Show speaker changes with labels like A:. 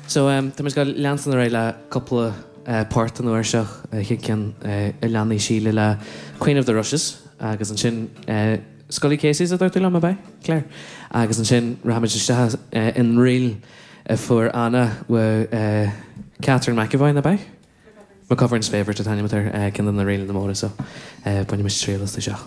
A: So, tá muid ag gabháil leanstan ar aghaidh le cúpla port an uair seo, an chéad ceann a leanfaidh Síle le Queen of the Rushes agus ansin Scully Casey's a dúirt tú liom, ab ea, Claire? Agus ansin rachaimid isteach in ríl a fuair Anna uaidh Catherine McEvoy, ab ea? McGovern's Favourite an t-ainm atá air, ceann de na ríleanna móra so bainfimid triail astu seo.